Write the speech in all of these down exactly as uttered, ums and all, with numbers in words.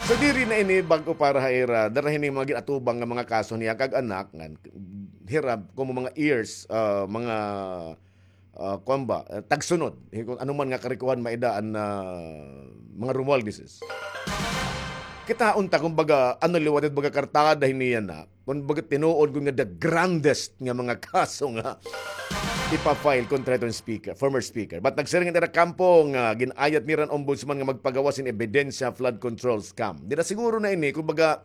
So, diri na ini bag-o para ha ira, dara hini mga gin-atubang nga mga kaso niya kag anak, ngan hira, komo mga heirs, ah, mga, ah, kuan ba, ah, tagsunod. Hi-, kon ano man nga karikohan maidaan na mga Romualdez. Kitaon ta, kumbaga, ano liwat it baga kartada hini yana. Kon baga tinuod gud nga the grandest nga mga kaso nga ipa-file kontra hiton speaker, former speaker. But nagsiring an ira kampo nga gin-ayat nira an ombudsman nga magpagawas hin ebidensya flood control scam. Diri siguro na ini, kumbaga,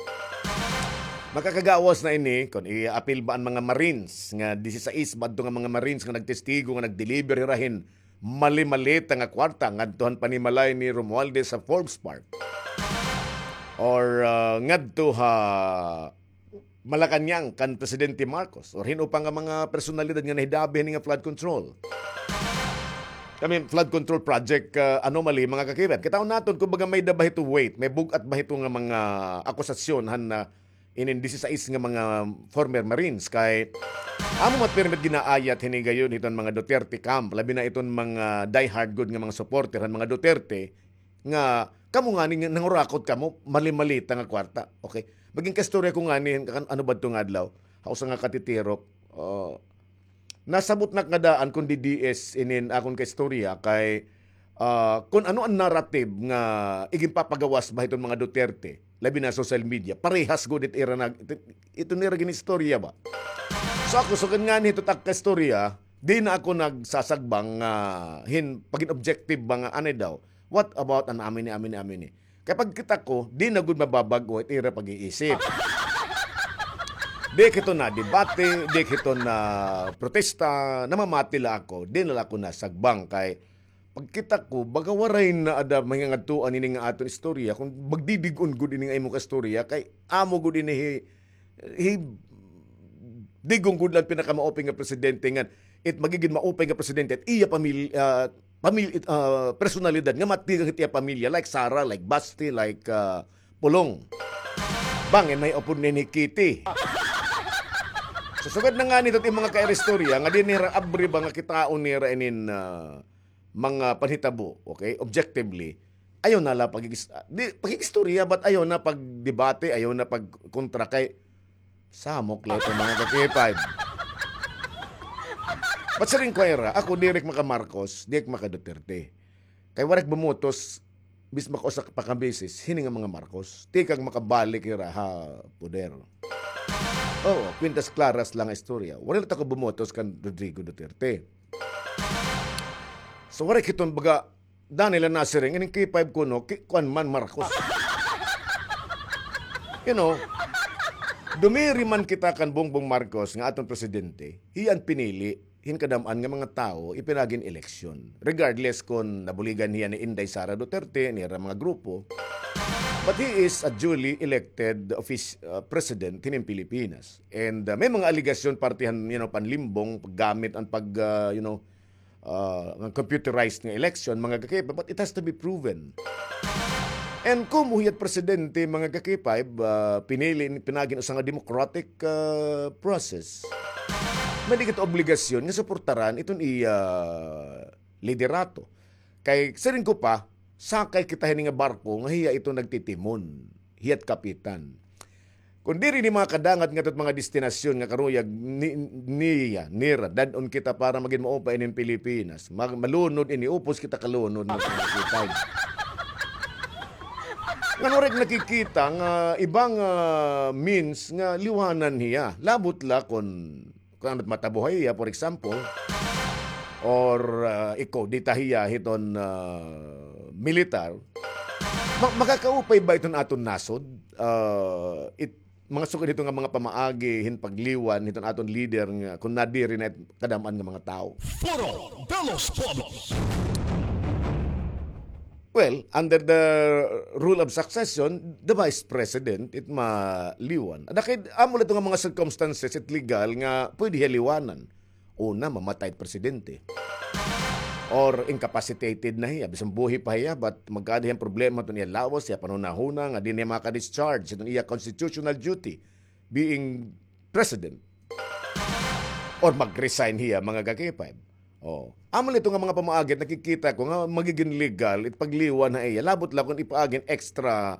makakagawas na ini kon i-apil ba an mga Marines nga disisais ba adto nga mga Marines nga nagtestigo nga nag-deliver hira hin mali-malita nga kwarta ngadto han panimalay ni Romualdez sa Forbes Park. Or, ah, ngadto ha Malacañang kan Presidente Marcos or hin-o pa nga mga personalidad nga nahidabi hini nga flood control. I mean, flood control project, ah, anomaly, mga kakibet. Kitaon naton kon baga may-ada ba hito weight, may bug-at ba hito nga mga akusasyon han, ah, inin disisais nga mga former Marines kay amo man pirmi it ginaayat hini gayon hiton mga Duterte camp, labi na iton mga diehard gud nga mga supporter han mga Duterte nga kamo ngani nga nangurakot kamo, mali-malita nga kwarta. Okay. Magin kaistorya ko ngani, kan-, ano ba adto nga adlaw? Ha usa nga katitirok, ah, nasabot na ak nga daan kon D D S inin akon kaistorya kay, ah, kon ano an narrative nga iginpapagawas ba hiton mga Duterte, labi na social media, parehas gud it ira nag-, it, ito nira gin-istorya ba? So ako, sugad ngani hito it ak kaistorya, di na ako nagsasagbang nga hin pagin objective ba nga anay daw. What about an amini, amini, amini? Kay pagkita ko, di na gud mababag-o it ira pag-iisip. Di ak hito nadebate, di ak hito naprotesta, namamati la ako, di na la ako nasagbang kay pagkita ko, baga waray na ada mahingangadtuan ini nga aton istorya, kon magdidig-on gud ini nga imo kaistorya, kay amo gud ini hi, hi, digong gud la an pinakamaupay nga presidente ngan it magigin maupay nga presidente, it iya pamil-, ah, pamil-, it, ah, personalidad nga matigang hit iya pamilya, like Sara, like Basti, like, ah, Pulong. Bangin may upod ni Kitty. So, sugad na ngani hito it mga kaira istorya, nga di nira abri ba nga kitaon nira inin, ah, mga panhitabo, okay? Objectively, ayaw na la pagigis-, ah, di, pagig-istorya, but ayaw na pagdebate, ayaw na pagkontra kay samok la ito, mga ka-K five. But siring ko ira, ako diri ak maka-Marcos, di ak maka-Duterte. Kay waray ak bumotos, bis makausa pa ka beses, hini nga mga Marcos. Tikang makabalik hira ha poder. Oo, kwintas klaras la nga istorya. Waray la ta ko bumotos kan Rodrigo Duterte. So, waray ak hiton baga, Daniel, an nasiring, ining K five kuno, ki-, kuan man, Marcos. You know, dumiri man kita kan Bongbong Marcos nga aton presidente, hiya an pinili hin kadam-an nga mga tawo ipinaagi hin eleksyon. Regardless kon nabuligan hiya ni Inday Sara Duterte, nira mga grupo, but he is a duly elected office, uh, president hinin Pilipinas. And, uh, may mga alegasyon parte han, you know, panlimbong, paggamit an pag, uh, you know, uh, nga computerized nga election, mga ka-K five, but it has to be proven. And komo hiya it presidente, mga ka-K five, uh, pinili, pinaagi hin usa nga democratic, uh, process, may-ada kita obligasyon nga suportaran iton iya liderato. Kay siring ko pa, sakay kita hini nga barko nga hiya ito nagtitimon, hiya it kapitan. Kon diri ini makadangat ngadto hit mga destinasyon nga karuyag ni-, niya, nira, dad-on kita para magin maupay inin Pilipinas. Mag-, malunod ini, upos kita kalunod nga pangakitay. Ngan waray ak nakikita nga iba nga means nga liwanan hiya. Labot la kon kon ano it matabuhay hiya, for example, or, ah, ikudeta hiya hiton, ah, militar, ma-, makakaupay ba iton aton nasod? Ah, it, mga sugad hito nga mga pamaagi hin pagliwan hiton aton leader nga kon nadiri na it kadam-an nga mga tawo. Foro de los Pueblos. Well, under the rule of succession, the vice president, it maliwan. Ada kay, amo la ito nga mga circumstances, it legal nga pwede hiya liwanan. Una, mamatay it presidente. Or incapacitated na hiya, bisan buhi pa hiya, but magkaada hiya problema iton iya lawas, iya panhunahuna, nga di na hiya makaka-discharge iton iya constitutional duty, being president. Or mag-resign hiya, mga ka-K five. Oh. Amo la ito nga mga pamaagi, nakikita ko nga magigin legal it pagliwan ha iya. Labot la kon ipaagi hin extra